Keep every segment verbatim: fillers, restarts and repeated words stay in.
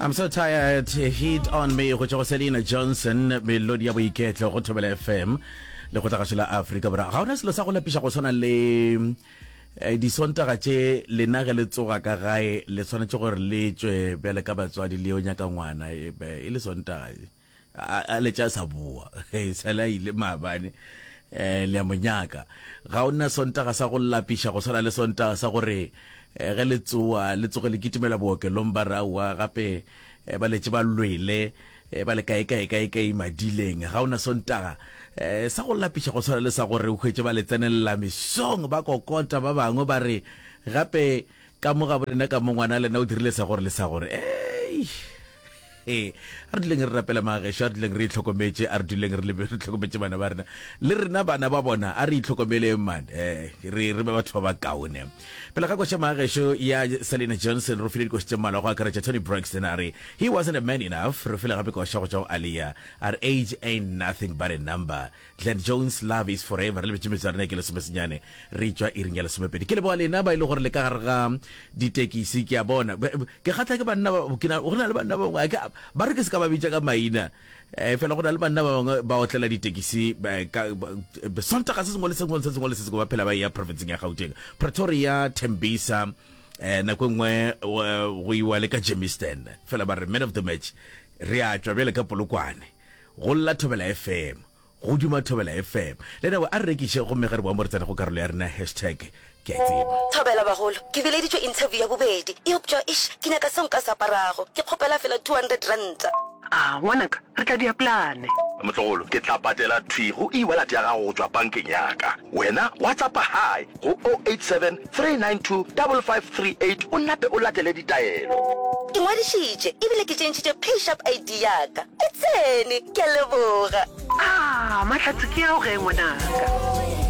I'm so tired heat on me go tšwa go Selena Johnson melodi ya boiketlo go Thobela FM le go tlagašo la Afrika Borwa ga ona selo sa go lapiša go swana le eh, disontaga tše lena ge le tsoga ka gae le swanetše gore le tšwe bjale ka batswadi le yo nyaka ngwana e be e le sontaga a a letša a sa boa sale a ile maabane um le a mo nyaka ga o na sontaga sa go lapiša go swana le sontaga sa gore eh, ge le tsoa le tsoge le kitimela bookelong ba re aowa gape eh, ba letše ba lwele eh, ba le kae kae kae kae madileng ga o na sontaga eh, sa go lapiša go swana le sa gore o hwetše ba le tsenelela mesong ba kokota ba bangwe ba re gape ka mo ga borena ka mo ngwana lena o dirile sa gore le sa gore ei ee a re duleng re rapela magešo a re duleng re itlhokometše a re duleng re lebe re tlhokometše bana ba rena le rena bana ba bona a re itlhokomeleng man eh re re be batho ba ba kaone pele ga koša magešo ya Selena Johnson re file dikoša tše mmalwa go akaretša Toni Braxton a re he wasn't a man enough re file gape koša go tšwa go Aaliyah a re age ain't nothing but a number Glenn Jones love is forever re lebetše metsotso ya rena ke lesomesenyane re tšwa iring ya lesomepedi ke leboga lena ba e le gore le ka gare ga ditekisi ke a bona ke kgatla ke banna ba ke na go na le banna ba bangwe ke ba re ke se ka ba bitša ka maina eh fela go na le banna ba bangwe ba otlela ditekisi ka sontaga se sengwe le sengwe se sengwe le se sengwe ba phela ba ya provinceng ya Gauteng Pretoria Tembisa eh nako e nngwe go iwa le ka Germiston fela ba re man of the match re a tšwa bjale ka Polokwane go lla Thobela FM go duma Thobela FM le nawe a re rekiše gomme ge re boa mo re tsena go karolo ya rena hashtag ke a tseba Thobela bagolo ke bileditšwe interview ya bobedi eupša eish ke nyaka seo nka se aparago ke kgopela fela two hundred ranta A ngwanaka re tla dia plane Motlogolo ke tla patela thwi go e-wallet ya gago go tšwa bankeng ya ka wena WhatsAppa hi go oh eight seven three nine two double five three eight o nape o latele ditaelo Ke ngwadišitše ebile ke tšentšhitše PayShap ID ya ka e tsene ke a leboga A mahlatse ke ao ge ngwanaka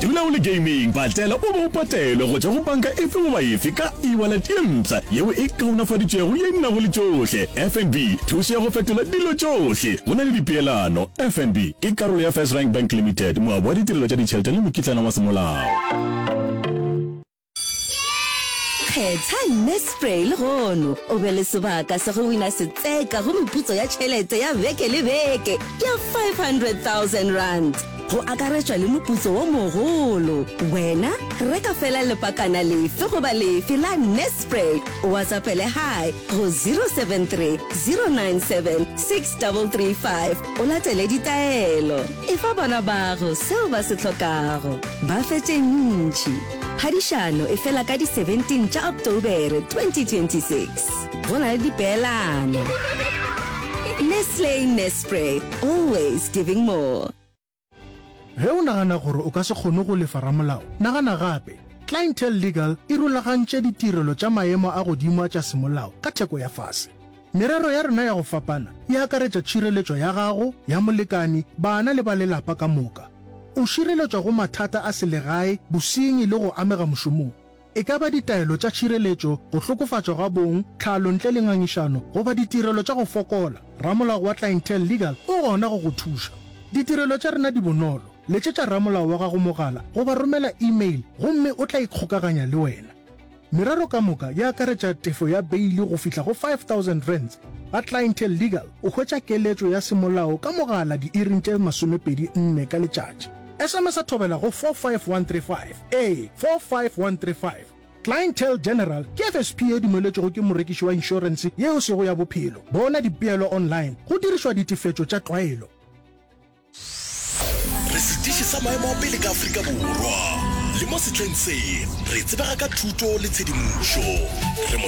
Dula o le gaming patela o be o patelwe go tšwa go banka efe goba efe ka e-wallet ye mpsha yeo e kaonafaditšwego ye nago le tšohle FNB thušo ya go fetola dilo tšohle go na le dipeelano FNB ke karolo ya First Rank Bank Limited moabi wa ditirelo tša ditšhelete le mokitlana wa semolao Kgetha Nespray lehono o be le sebaka sa go wina setseka go meputso ya tšhelete ya beke le beke ya five hundred thousand rand go akaretšwa le moputso wo mogolo. Wena reka fela lepakana lefe goba lefe la Nespray o WhatsAppele hi go zero seven three zero nine seven six double three five o latele ditaelo. Efa bana bago seo ba se hlokago. Ba fe tše ntši. Phadišano e fela ka di seventeen tša Oktobere twenty twenty six. Go na le dipeelano. Nestle Nespray, always giving more. Ge o nagana gore o ka se kgone go lefa ramolao, nagana gape. Clientele Legal e rulagantše ditirelo tša maemo a godimo tša semolao ka theko ya fase. Merero ya rena ya go fapana e akaretša tšhireletšo ya gago, ya molekani, bana le ba lelapa ka moka. O šireletšwa go mathata a selegae, bosenyi le go amega mošomong. E ka ba ditaelo tša tšhireletšo, go hlokofatšwa ga bong, tlhalo ntle le ngangišano, goba ditirelo tša go fokola, ramolao wa Clientele Legal o gona go go thuša. Ditirelo tša rena di bonolo. Letšetša ramolao wa gago mogala goba romela email gomme o tla ikgokaganya le wena. Merero ka moka e akaretša tefo ya beili go fihla go five thousand rands. Ga Clientele Legal o hwetša keletšo ya semolao ka mogala diiring tše masomepedi nne ka letšatši. S M S a thobela go four five one three five, ee, four five one three five. Clientele General ke F S P ye dumeletšwego ke morekiši wa inšorense ye e sego ya bophelo. Bona dipeelo online go dirišwa ditefetšo tša tlwaelo. Re setiši sa maemo a pele ka Afrika Borwa, le mo sehleng se re tsebega ka thuto le tshedimošo. Re